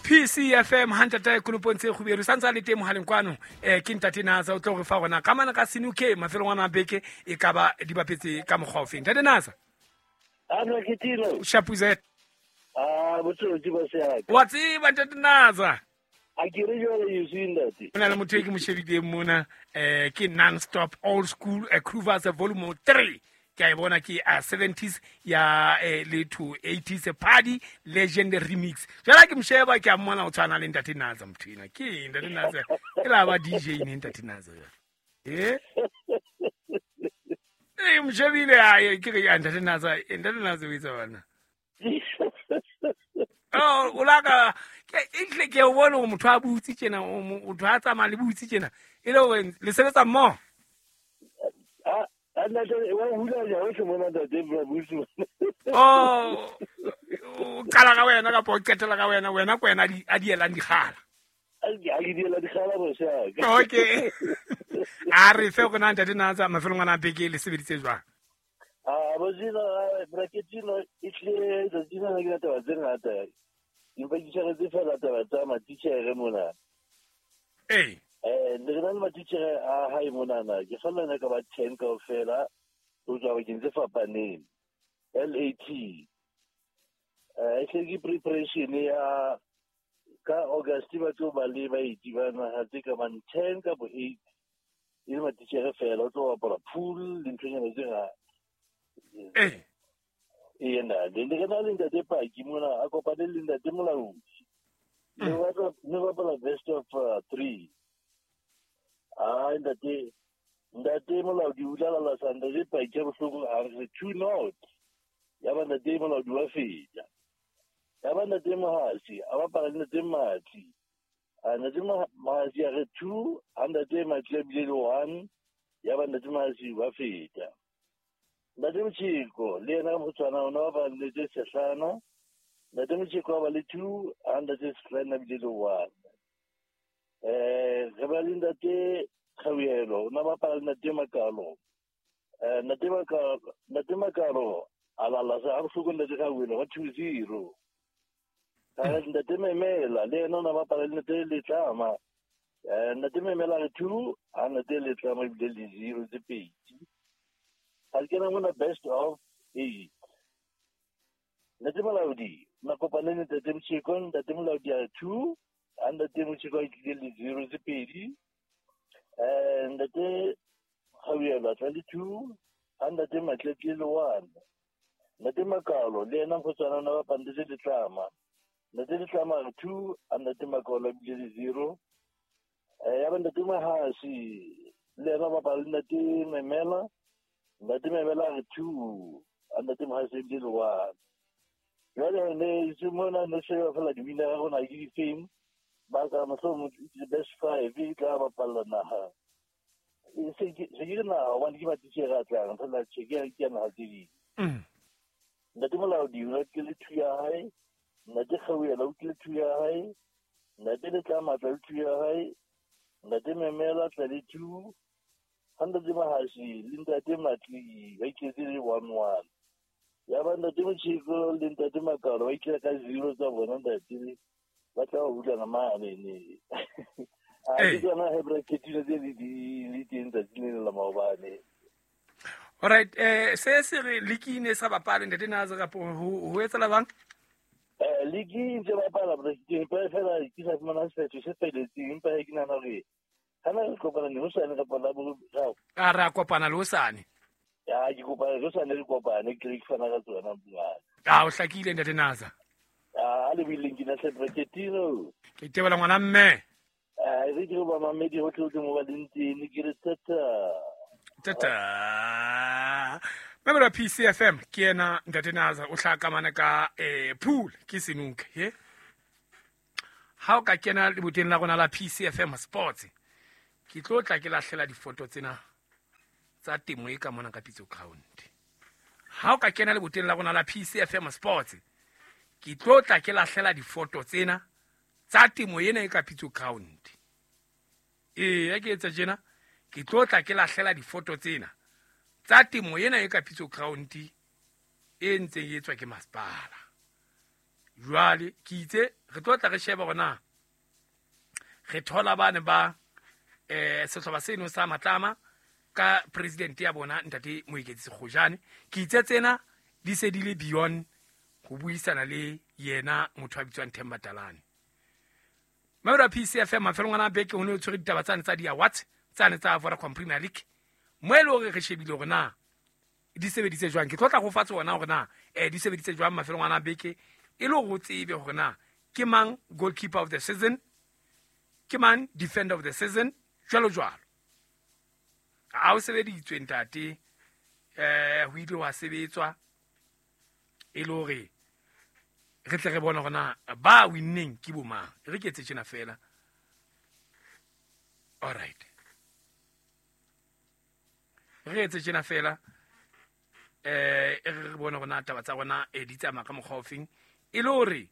PCFM ha ntata konopong tse kgubedu sa ntse a le teng mohaleng kwano. Ke ntate Nasa o tlo re fa gona ka mana ka senuke mafelong ana a beke e ka ba di bapetse ka mokgwa ofeng. Ntate Nasa. Shapuzet. Ah, botsotsi ba seaka. Wa tseba ntate Nasa. A ke re jwale you ntate. Ho na le motho e ke mo shebileng mona ke non stop old school Cruvers volume 3. Ke a e bona ke a 70s ya le to 80s party legend remix. Jwale ke mosheba ke a mmona o tshwana le ntate Nasa motho ena. Ke ntate Nasa. Ke la ba DJ ne ntate Nasa. Eh? Eh moshebile a ke re ntate Nasa, ntate Nasa o itse bana. Oh, o laka ke ehle ke o bone hore motho a butse tjena, motho a tsamaya le butse tjena. E le hore le sebetsa mmoho? A ntate wa hula ja hohle mona ntate bra butse. Oh, o qala ka wena kapa o qetela ka wena, wena ke wena a di elang dikgala. A di diela dikgala boshaka. Okay. A re fe go na ntate Nasa mafelong ana a beke le sebeditse jwang? Ah, bojino braketino e tlile tsatsing lena ke taba tse ngata. Empa ke tshwaretse fela taba tsa matitjhere mona. Ee. Ne re na le matitjhere a hae monana. Ke kgalla ka ba 10 kaofela ho tswa bakeng tse fapaneng. LAT. E hle ke preparation ya ka August ba tlo ba le baeti ba naha tse ka bang 10 kapa 8. E le matitjhere fela o tlo bapala pool le nthonyana tse ngata. Eh. Ee ntate, ne re na le ntate Paki mona a kopane le ntate Molaodi. Ne bapala best of 3. Ah ntate, ntate Molaodi o tla lala sa ntate Paki a bohloko a re 2-0. Ya ba ntate Molaodi wa feta. Ya ba ntate Mohasi a bapala le ntate Matli. A ntate Mohasi a re 2, a ntate Matli a bile le 1. Ya ba ntate Mohasi wa feta. Ntate Motjhiko le yena ka mokgotshwana o ne ba bapala le ntate Sehlana. Ntate Motjhiko a ba le 2, a ntate Sehlana a bile le 1. Re ba le ntate Kgauhelo, o ne ba bapala le ntate Makalo. Ntate Makalo a lala sa a bohloko ntate Kgauhelo ka 2-0. Ntate Memela le yena o ne ba bapala le ntate Letlama. Ntate Memela re 2, a ntate Letlama ebile le 0 tse pedi. Ha ke na mona best of 8. Ntate Molaodi, na kopane le ntate Motjhiko, ntate Molaodi a 2, a ntate Motjhiko a tlile le 0 tse pedi. Ntate Kgauhelo a tla le 2, a ntate Matle tlile le 1. Ntate Makalo le yena mokgotshwana o ne ba bapala le Letlama. Ntate Letlama a re 2, a ntate Makalo a bile le 0. Ya ba ntate Mahasi le yena ba bapala le ntate Memela. Ntate Memela a re 2, a ntate Mahasi a bile le 1. Jwale ne se mona ne sheba fela di-winner ya rona ke difeng. Ba ka mohlomong the best 5 e tla bapalla naha. Se ke re naha hobane ke matitjhere a tlang, fela tjhe ke ya naha tse ding. Ntate Molaodi o tlile 2 ya hae, ntate Kgauhelo o tlile 2 ya hae, ntate Letlama tla le 2 ya hae, ntate Memela tla le 2, ha ntate Mahasi le ntate Matli ba itletse le 1-1. Ya ba ntate Motjhiko le ntate Makalo ba itlile ka 0 tsa bona ntate ba tla hulana mane ne. A ke tsona he bracketile tse di teng tsatsi le la maobane. All right, se se re liki ne sa bapale ntate Nasa kapo ho etsala bang? Liki ntse bapala bracketile empa fela ke sa fumana sephetho se felletseng, empa ke nahana hore ha na re kopana ne hosane kapa la boraro. A re a kopana le hosane. Ya ke kopana le hosane re kopane ke re ke fana ka tsona mongaka. A o hlakile ntate Nasa. A le buileng ke na hle bracketino. Ke tebola ngwana mme. Re ke ba mamedi hohle hohle mo ba leng teng, ke re tata. Tata. Member wa PCFM ke yena ntate Nasa o hlaka mana ka pool ke senuke he. Ha o ka kena leboteng la rona la PCFM Sports ke tlo tla ke lahlela difoto tsena tsa temo e ka mona ka Pitso Ground. Ha o ka kena leboteng la rona la PCFM Sports ke tlo tla ke lahlela difoto tsena tsa temo ena e ka Pitso Ground. Ee, ke etsa tjena ke tlo tla ke lahlela difoto tsena tsa temo ena e ka Pitso Ground e ntseng e etswa ke masepala. Jwale ke itse re tlo tla re sheba hore na re thola bane ba sehlopha seno sa Matlama ka president ya bona ntate Moeketsi Kgojane. Ke itse tsena di se di le beyond ho buisana le yena motho a bitswang Themba Talane. Mabelo a PCFM mafelong ana a beke ho ne ho tshwere ditaba tsane tsa di-awards tsane tsa Vodacom Premier League, mo e le hore re shebile hore na di sebeditse jwang. Ke tlo tla go fa tsona hore na di sebeditse jwang mafelong ana a beke, e le hore o tsebe hore na ke mang goalkeeper of the season, ke mang defender of the season, jwalo jwalo. Ha o sebeditswe ntate, ho ile wa sebetswa e le hore re tle re bone hore na ba winneng ke bo mang. Re ke etse tjena fela. All right, re etse tjena fela, re bone hore na taba tsa rona di tsamaya ka mokgwa ofeng, e le hore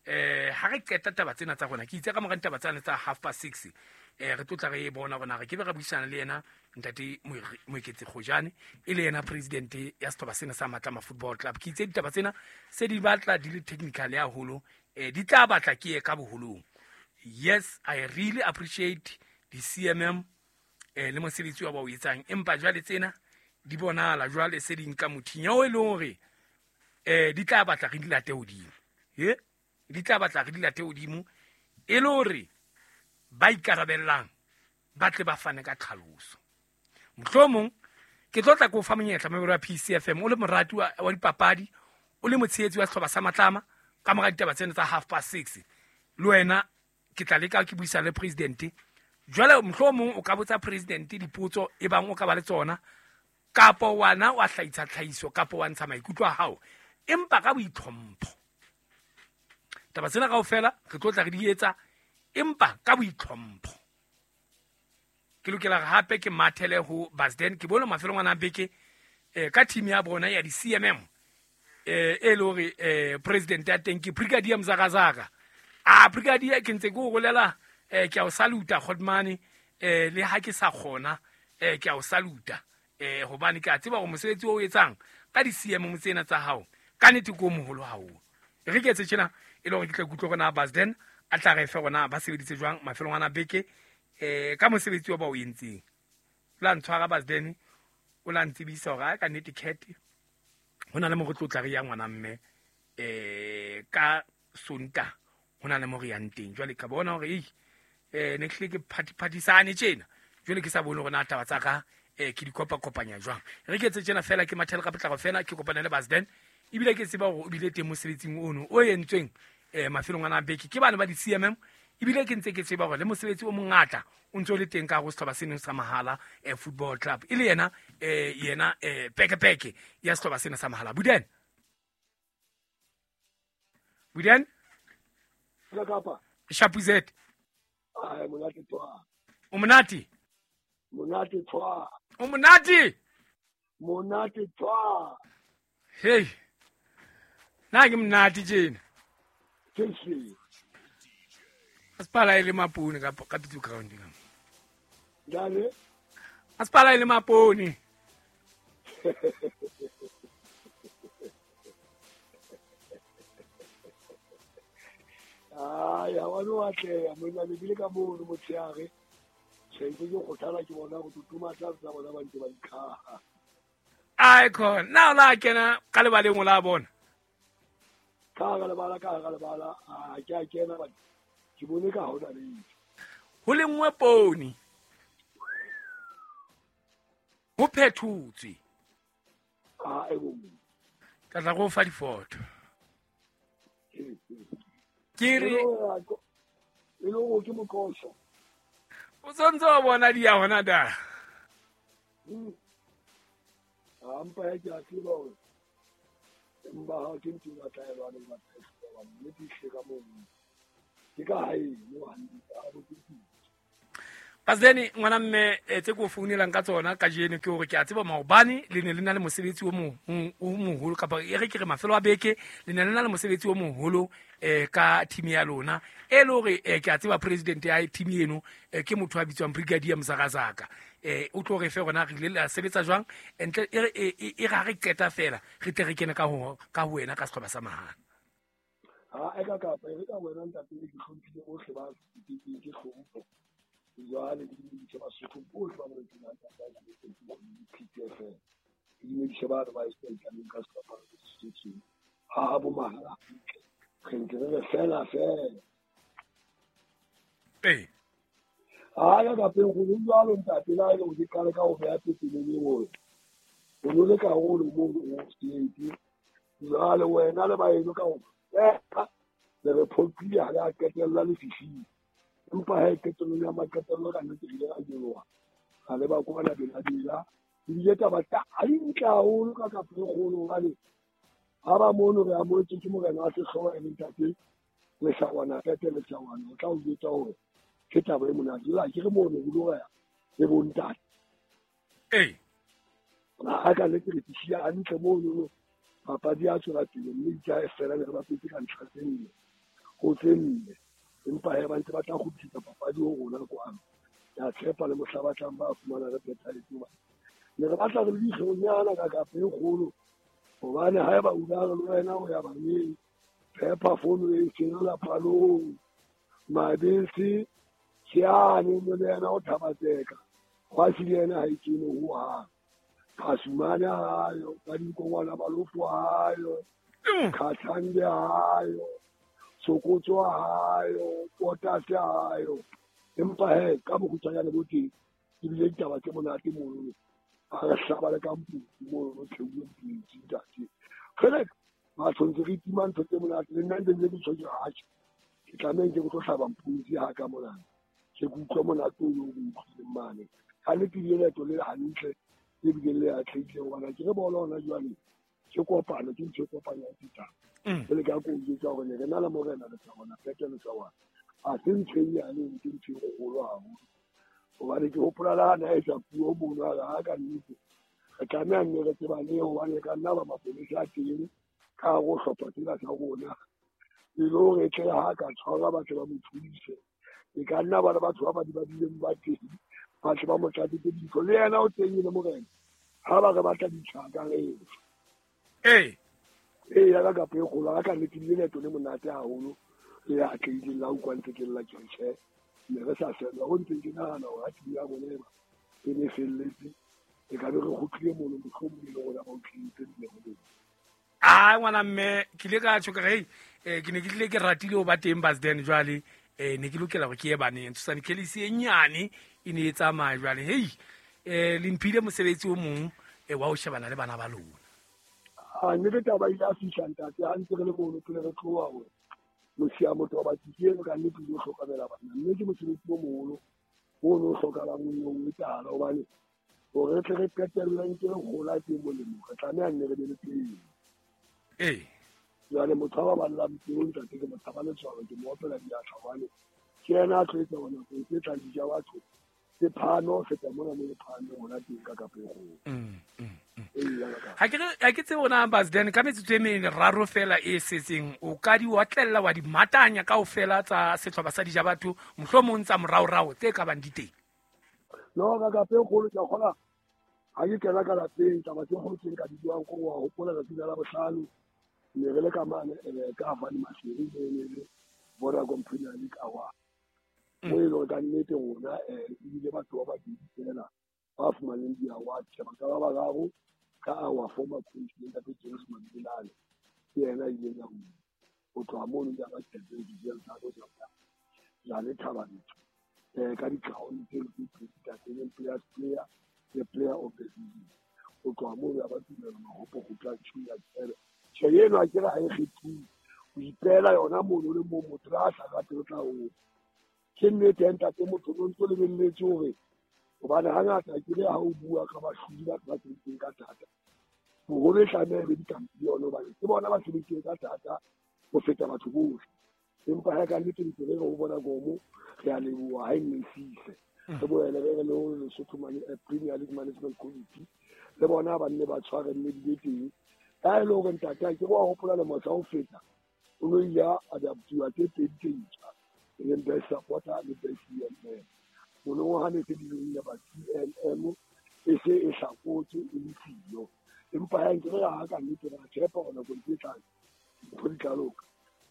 ha re qeta taba tsena tsa rona. Ke itse ka mora ditaba tsane tsa 6:30 re tlo tla re bona hore na re ke be ra buisana le yena ntate Moeketsi Kgojane, e le yena president ya sehlopha sena sa Matlama Football Club. Ke itse ditaba tsena se di batla di le technical haholo, di tla batla ke ye ka boholong. Yes, I really appreciate the CMM le mosebetsi wa ba o etsang, empa jwale tsena di bonahala jwale se di nka mothinya o e leng hore di tla batla re di late hodimo. Di tla batla re di late hodimo e le hore ba ikarabellang ba tle ba fane ka tlhaloso. Mohlomong ke tlo tla ke o fa monyetla mabelo a PCFM, o le morati wa dipapadi, o le motshehetsi wa sehlopha sa Matlama, ka mora ditaba tsena tsa 6:30 le wena ke tla leka ke buisana le president. Jwale mohlomong o ka botsa president dipotso e bang o ka ba le tsona, kapo wana wa hlahisa tlhahiso, kapo wa ntsha maikutlo a hao, empa ka boitlhompho. Taba tsena kaofela re tlo tla re di etsa, empa ka boitlhompho. Ke lokela hape ke mathele ho Basden, ke bone mafelong ana a beke ka team ya bona ya di-CMM, e le hore president ya teng ke Brigadier Mzakazaka. A Brigadier, ke ntse ke o rolela, ke a o saluta Godmane, le ha ke sa kgona, ke a o saluta, hobane ke a tseba hore mosebetsi o etsang ka di-CMM tsena tsa hao ka nnete ke o moholo haholo. Re ke etse tjena e le hore ke tle ke utlwe hore na Basden a tla re fe rona ba sebeditse jwang mafelong ana beke, ka mosebetsi wa ba o entseng. O la ntshwara Basden, o la ntsebisa hore a ka nnete cat ho na le mo re tlo tla re ya ngwana mme, ka Sonta ho na le mo re yang teng. Jwale ka bona hore ne hlile ke phatiphatisane tjena, jwale ke sa bone hore na taba tsa ka ke di kopakopanya jwang. Re ke etse tjena fela, ke mathele ka potlako fela, ke kopane le Basden, ebile ke tseba hore o bile teng mosebetsing ono o entsweng mafelong ana a beke ke bana ba di-CMM, ebile ke ntse ke tseba hore le mosebetsi o mongata o ntse o le teng ka hare ho sehlopha seno sa Mahala Football Club, e le yena yena pekepeke ya sehlopha sena sa Mahala. Buden, Buden Shapuzet. O monate? Monate tshwa. O monate? Monate tshwa. Hey. Na ke monate tjena. Asipala ile mapone ka pitso ground ka. Jale? Asipala ile mapone. Ai, ha wa no atleha, monna le bile ka mono motshehare. Se ntse ke kgothala ke bona go tutuma tla tsa bona ba ntse ba ikhaha. Ai khona, na o la kena ka lebaleng o la bona. Ka lebala a ke a kena ba ke bone ka hona le. Ho lengwe pone. Ho phethotswe. A e bo. Ka tla go fa difoto. Ke re e le go ke mokoso. O tsontse wa bona di ya hona da. A mpa ya ke a tseba hore mba ha ke ntse ba tla ba le ba tla mme ke hle ka moo. Ke ka hae mo hantle a bo ke. Pasdeni ngwana mme tse ko founelang ka tsona kajeno ke hore ke a tseba maobane le ne le na le mosebetsi o moholo, kapa e re ke re mafelo a beke le ne le na le mosebetsi o moholo ka team ya lona, e le hore ke a tseba president ya team eno ke motho a bitswang Brigadier Mzakazaka, o tlo re fe rona re ile la sebetsa jwang ntle e re ha re qeta fela re tle re kene ka ho wena ka sehlopha sa Mahala. Ha e ka kapa e re ka wena ntate ke hlomphile bohle ba ke hlompho. Jwale ke dumedise Basotho bohle ba boletseng ka PTFM. Ke dumedise batho ba e ka sehlopha se setseng. Ha bo mahala hantle. Re ntse re fela fela. Ee. Ha ya ka pele go jwalo ntate la ile go ke qale ka go beha pepeneneng hore o no le karolo mo o state. Jwale wena le baeno ka go le re phoqile ha re qetella le fihlile. Empa ha e qetellong ya maqetello ka nnete re ile ra nyoloha. Ra leba kwana Bela-Bela. Ebile taba tsa hantle haholo ka kapo e kgolo hobane ha ba mono re amohetswe ke morena wa sehlooho e leng ntate Lesawana Pete Lesawana. O tla o jwetsa hore ke taba e monate. Jwale ha ke re mono ho lo ya le bontate. Ee. Ha ka nnete re fihlile hantle mono. Papadi ya tswela pele mme itse ha e fela ne re bapetse ka ntlha tse nne ho tse nne. Empa he ba ntse ba tla kgutlisetsa papadi ho rona kwano. Ke a tshepa le mohla ba tlang ba fumana re phethahetse hobane ne re batla re le dihlonyana ka kapo e kgolo hobane haeba o ka re le wena o ya baneng phepa fono e senola palong mabese seane mo le yena o thabatseka kgwasi le yena ha e kene hohang. Phasumane hayo, ka dinkongwana balofo hayo, Khathande hayo, Sokotso hayo, Potase hayo. Empa he ka bokgutshwanyane bo teng ebile ditaba tse monate mono. Ha re hlaba le ka mputu mono theuwe mpintsi ntate. Kgele batho ntse re tima ntho tse monate le nna ntse ke tjho ke hatjhe. Ke tlameha ke tlo hlaba mpuntsi ha ka monana. Ke utlwa monate o o utlwileng mane. Ha le pile leeto le hantle le bile le atlehile hobane ke re bolo hona jwale ke kopano ke ntho e kopanyang ditaba. Jwale ka ko jwetsa hore ne re na le morena Lesawana Pete Lesawana. Ha se ntho e nyane ke ntho e kgolo haholo. Hobane ke hopola le ha na etsa puo mono a re ha ka nnete re tlameha nne re tsebane hobane ka nna ba mapolesa a teng ka hare ho hlopha tsena tsa rona. E le hore tle ha ka tshwarwa ba tle ba mo thuse. E ka nna ba le batho ba ba di ba bileng ba teng ba tle ba mo tlatsetse dintho. Le yena o teng e le morena. Ha ba re batla ditjhaka re. Ee. Ee, ya ka kapo e kgolo ha ka nnete ebile leeto le monate haholo le atlehileng la utlwa ntse ke lla ke re tjhe ne re sa fellwa ho ntseng ke nahana hore ha team ya rona eba e ne felletse e ka be re kgutlile mono mohlomong e le rona ba utlwileng nne ho leng. Ah ngwana mme ke ile ka tjho ka re ke ne ke tlile ke ratile ho ba teng Basden jwale ne ke lokela hore ke ye baneng Tshosane Kelly e nyane e ne e tsamaya jwale hei le mphile mosebetsi o mong wa ho shebana le bana ba lona. Ha nnete taba ile a fihla ntate ha ntse re le mono pele re tloha hore mosia motho wa batho eno ka nnete o hlokomela bana mme ke mosebetsi o moholo o no hlokahalang o no etsahala hobane hore re tle re qetelle ntse re hola ke molemo re tlameha nne re be le pele. Ee. Jwale motho a baballang peo ntate ke motho ba letshwalo ke mo opela diatla hobane ke yena a tlo etsa hore nako e tlang dija batho ke phano feta mona mo le phano hona teng ka kapo e kgolo. Ha ke tsebe ona Basden ka metsotso e meraro fela e setseng o ka di otlella wa di matanya kaofela tsa sehlopha sa dija batho mohlomong tsa moraorao tse ka bang di teng. No ka kapo e kgolo ke a kgona ha ke kena ka lapeng taba tse kgolo tse nka di buang ko wa hopola tsatsi la Labohlano ne re le ka mane ka Fani Maseru ne le Vodacom Premier League Award. Mo e leng ka nnete rona ebile batho ba babedi fela ba fumaneng di-award tjhe ba ka ba bararo ka our former coach le ntate James Mabilane ke yena a ileng a wina. Ho tloha mono ya ba tjhelete dijelo tsa bo tsa le Thaba Nchu ka di-crown tse tse pedi ntate leng players player le player of the season. Ho tloha mono ya ba tumelo mahopo ho tla tjhunya tjhebe. Tjhe eno ha ke re ha e kgethuwe o ipeela yona mono le moo motho le ha sa rate o tla o. Ke nnete ya ntate motho o ntso lebelletse hore hobane hangata ke re ha o bua ka bahlodi batho ba sebetseng ka thata boholo e tlameha e be di-champion hobane ke bona ba sebetseng ka thata ho feta batho bohle. Empa ha ka nnete ntse re re ho bona Gomo re a leboha ha e nne sise. Re boele re re le ho Lesotho Premier League Management Committee le bona ba nne ba tshwarelle di be teng. Ka e le hore ntate ha ke re wa hopola lemo sa ho feta o no ile a adaptiwa tse pedi tse ntjha e leng best supporter le best CMM. Mono ha ne se di le ba CMM e se e hlakotswe e le siyo. Empa ha nke re ha ka nnete ra tshepa hore nakong tse tlang dintho di tla loka.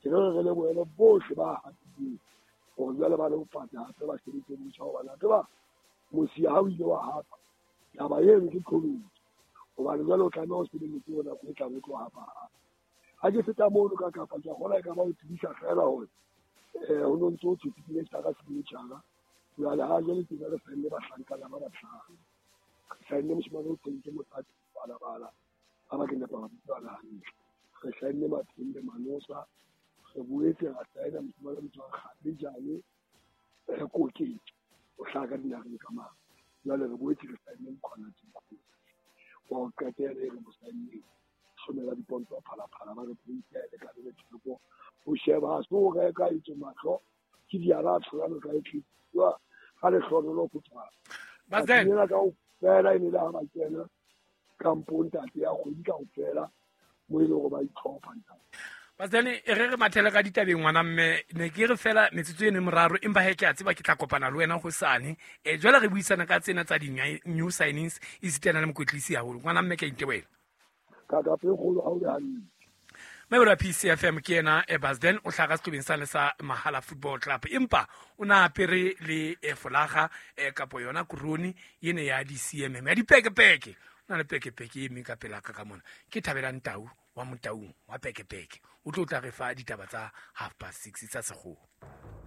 Ke re re lebohele bohle ba hapileng hore jwale ba le ho fata hape ba sebetse botjha, hobane a tseba mosia ha o ile wa hapa taba eno ke qholotso, hobane jwale o tlameha o sebeletse ho nako e tlang o tlo hapa hape. Ha ke feta mono ka Kapa, ke a kgolwa e ka ba ho tsebisa feela hore ho no ntso ho thwe signature signature. Jwale ha jwale tjena re saenne bahlankana ba bahlano. Re saenne moshemane o thweng ke Motlatsi Balabala, ha ba ke nepa mabitso ana hantle. Re saenne Mathembe Manosa, re boetse ra saena moshemane o bitswang Kgabejane Koketso, o hlaha ka dinaheng ka mane. Jwale re boetse re saenne Mkhwanazi Nkosi wa ho qetela e re mo saenneng, hlomela diponto Phalaphala, ba re peiti ya e lekane le theko ho sheba ha se ho reka etswe mahlo ke diala a tsholano ka e tletse ga lehlohonolo go tswa. Bazen. Ena kaofela e ne le ha ba kena kampong ntate ya kgwedi kaofela mo e leng gore ba itlhopha ntate. Batsane, e re re mathele ka ditabeng ngwana mme ne ke re fela metsotso eno e moraro, empa he ke a tseba ke tla kopana le wena hosane. Jwale re buisana ka tsena tsa di-new signings esitana le mokwetlisi haholo. Ngwana mme, ke a itebohela. Ka kape kgolo ha o le hantle. Mebelo ya PCFM ke ena Basden o hlaha ka sehlobeng sane sa Mahala Football Club, empa o na apere le folaga kapo yona korone ene ya di-CMM ya dipekepeke. O na le pekepeke e meng ka pela ka ka mona, ke Thabelang Tau wa Motaung wa pekepeke, o tlo tla re fa ditaba tsa 6:30 tsa sekgowa.